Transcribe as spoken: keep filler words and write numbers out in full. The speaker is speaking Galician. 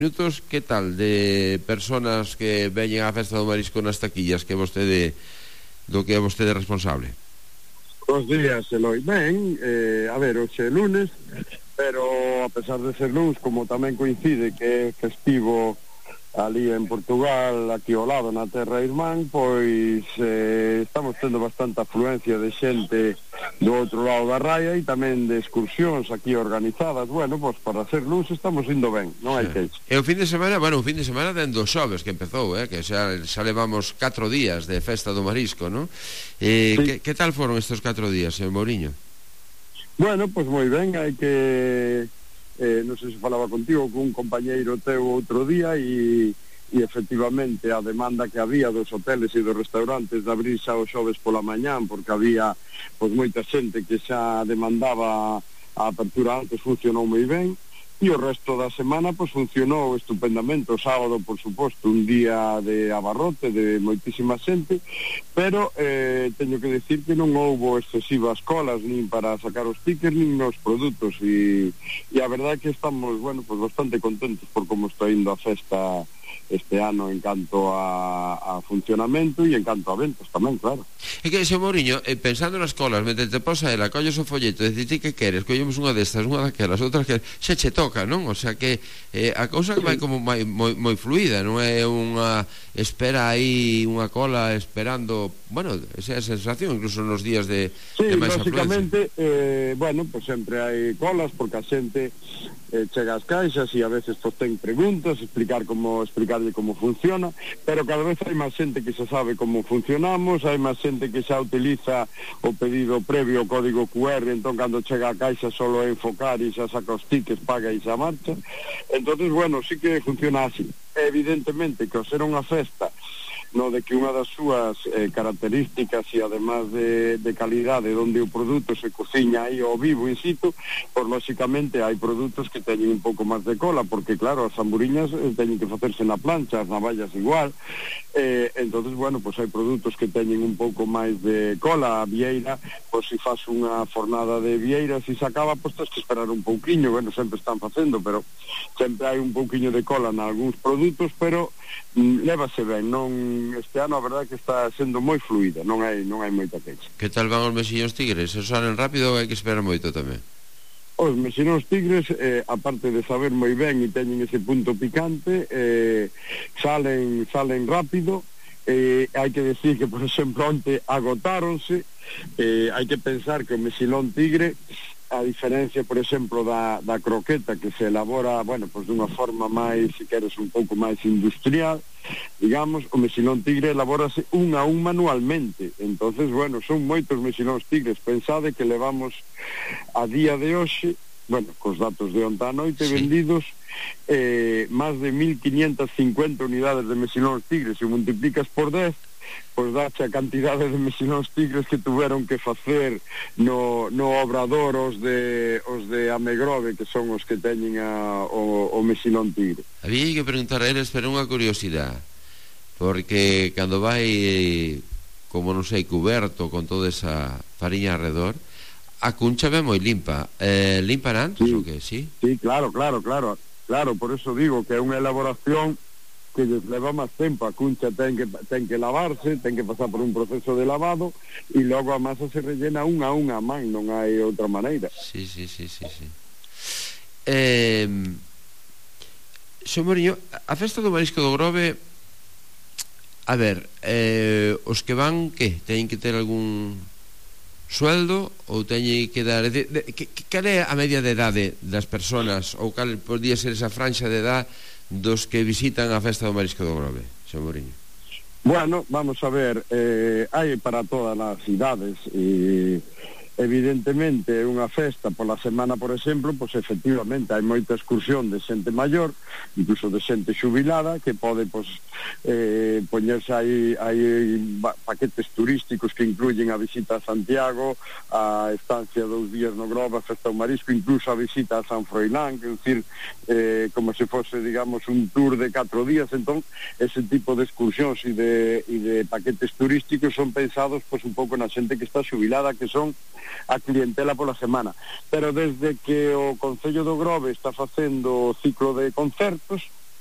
Minutos, que tal de personas que veñen á Festa do Marisco nas taquillas que vostede do que é vostede responsable? Bos días, Eloi. Ben, eh, a ver, hoxe é lunes, pero a pesar de ser lunes, como tamén coincide que é festivo ali en Portugal, aquí ao lado na terra irmán, pois eh, estamos tendo bastante afluencia de xente do outro lado da raya e tamén de excursións aquí organizadas. Bueno, pois para ser lunes estamos indo ben, non hai queixa. E o fin de semana, bueno, o fin de semana dendo xoves que empezou, eh, que xa, xa levamos catro días de Festa do Marisco, non? Eh, sí. que, que tal foron estes catro días, señor Mouriño? Bueno, pois moi ben, hai que... Eh, non sei se falaba contigo con un compañeiro teu outro día e, e efectivamente a demanda que había dos hoteles e dos restaurantes de abrir xa os xoves pola mañán, porque había pois moita xente que xa demandaba a apertura antes, funcionou moi ben, e o resto da semana pois funcionou estupendamente. O sábado, por suposto, un día de abarrote de moitísima xente, pero eh, teño que decir que non houbo excesivas colas nin para sacar os tickets nin nos produtos, e, e a verdade é que estamos, bueno, pues bastante contentos por como está indo a festa este ano en canto a, a funcionamento e en canto a ventas tamén, claro. É que, señor Mouriño, eh, pensando nas colas, mentre te posa ela, colles o folleto, decir ti que queres, collemos unha destas, unha daquelas, outras que xa che toca, non? O sea que eh, a cousa vai como moi, moi, moi fluida, non é unha espera aí, unha cola esperando, bueno, esa é a sensación, incluso nos días de, sí, de máis afluencia. Sí, básicamente, eh, bueno, pues sempre hai colas, porque a xente eh, chega ás caixas e a veces pues ten preguntas, explicar como explicarlle como funciona, pero cada vez hai máis xente que xa sabe como funcionamos, hai máis xente que xa utiliza o pedido previo, o código cu erre, entón cando chega a caixa solo é enfocar e xa saca os tickets, paga e xa marcha. Entonces, bueno, sí que funciona así. Evidentemente que ao ser unha festa no de que unha das súas eh, características e además de, de calidade onde o produto se cociña aí ao vivo in situ, pois lóxicamente hai produtos que teñen un pouco máis de cola, porque claro, as zamburiñas eh, teñen que facerse na plancha, as navallas igual, eh, entonces bueno, pois hai produtos que teñen un pouco máis de cola. A vieira, pois se faz unha fornada de vieira, se se acaba, pois tens que esperar un pouquiño, bueno, sempre están facendo, pero sempre hai un pouquiño de cola en algúns produtos, pero mm, lévase ben, non. Este ano a verdade que está sendo moi fluida, non hai non hai moita queixa. Que tal van os mexillóns tigres? Se salen rápido ou hai que esperar moito tamén? Os mexillóns tigres, eh, aparte de saber moi ben e teñen ese punto picante, eh, salen salen rápido. Eh, hai que decir que, por exemplo, onte agotáronse. Eh, hai que pensar que o mexilón tigre, a diferencia, por exemplo, da, da croqueta, que se elabora, bueno, pues dunha forma máis, se queres, un pouco máis industrial, digamos, o mexilón tigre elabórase un a un manualmente. Entonces, bueno, son moitos mexilóns tigres. Pensade que levamos a día de hoxe, bueno, cos datos de onta a noite, sí, vendidos eh, máis de mil quinientas cincuenta unidades de mexilóns tigres. Se multiplicas por dez, pois dache a cantidade de mexilóns tigres que tuveron que facer no, no obrador os de os de Amegrove, que son os que teñen a, o, o mexilón tigre. Había que preguntar a eles, pero unha curiosidade, porque cando vai, como non sei, cuberto con toda esa fariña alrededor, a cuncha ve moi limpa. Eh, limpan antes, sí, ou que, sí? Sí, claro, claro, claro. Claro, por eso digo que é unha elaboración que les leva máis tempo. A cuncha ten que, ten que lavarse, ten que pasar por un proceso de lavado e logo a masa se rellena un a un a man, non hai outra maneira. Sí, sí, sí, sí, sí. Eh, Xo Mouriño, a Festa do Marisco do Grove, a ver, eh, os que van, que? Teñen que ter algún sueldo ou teñen que dar... De, de, que, cal é a media de idade das persoas, ou cal podría ser esa franxa de idade dos que visitan a Festa do Marisco do Grove, señor Mouriño? Bueno, vamos a ver, eh, hai para todas as idades, e evidentemente unha festa pola semana, por exemplo, pois efectivamente hai moita excursión de xente maior, incluso de xente xubilada, que pode pois eh, poñerse aí, aí paquetes turísticos que incluyen a visita a Santiago, a estancia dous días no Grove, a Festa do Marisco, incluso a visita a San Froilán, que é dicir, eh, como se fose, digamos, un tour de catro días. Entón, ese tipo de excursións e de, e de paquetes turísticos son pensados pois un pouco na xente que está xubilada, que son a clientela pola semana. Pero desde que o Concello do Grove está facendo o ciclo de concertos,